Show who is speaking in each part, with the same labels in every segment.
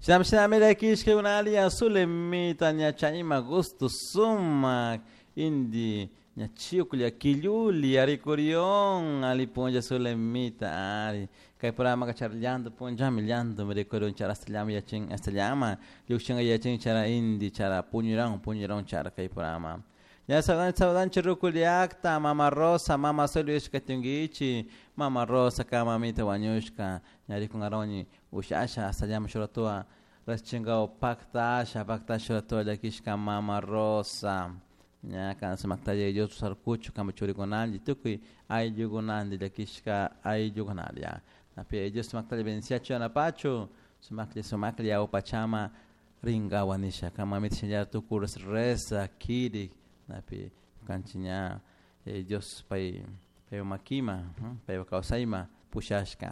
Speaker 1: Shinami shinami llakishkakunalla Zulemita ña chayma gusto sumak indi ña chiuklla quilluli rikurion ali punlla Zulemita ari kay programa chara llanto punllami llanto rikurion chara hasta llama yachin hasta llama llukshinga yachin chara indi chara puñuran puñuran chara kay programa. Ya saludan saludanchi rukullakta mama Rosa mama Solo ishkatunkichi mama Rosa ka mamita wañushka ña rikungaroni ushasha hasta llama shuratua raschingao paktasha paktasha shuratua llakishka mama Rosa ña kan sumaktalla Dios sarkuchu kama churikunalli tukuy ayllukunanti llakishka ayllukunalla napi Dios sumaktalla bendiciachu yanapachu sumaklla sumaklla awpachama rinkawa nisha kan mamita shinallara tukuy reza kirik napi kanchik ña Dios pay paypak makima paypak kawsayma pushashka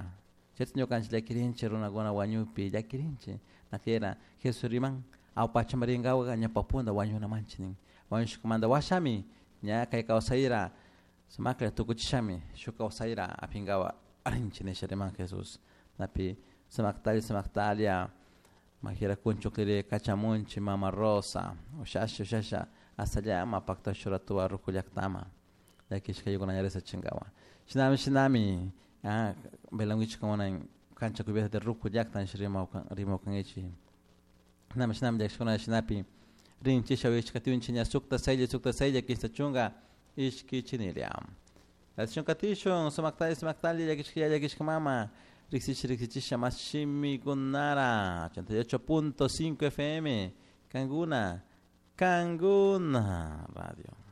Speaker 1: chayta ñukanchik llakirinchik runakuna wañukpi llakirinchik nakera Jesús riman awpachama rinkawaka ñawpa punta wañunamanchik nin wañushkamanta washami ña kay kawsayra sumaklla tukuchishami shuk kawsayra apinkawa rinchik nisha riman Jesús napi sumaktalla sumaktalla majira kunchukliri kachamunchik mama Rosa ushasha ushasha hasta llama pakta shuratuwa ruku llaktama llakishka ña riksichinkawa shinami shinami velanguichik cancha cubierta de ruku llakta nisha rimakunkichik shinami shinami llakishkuna shinapi rinchisha uyashkatiunchik ña sukta saylla sukta saylla kinsa chunka ishkichinilla Katishun katishun sumaktalla sumaktalla llakishka yaya llakishka mama riksichisha riksichisha mas shimikunara 88.5 FM Kanguna Kanguna Radio.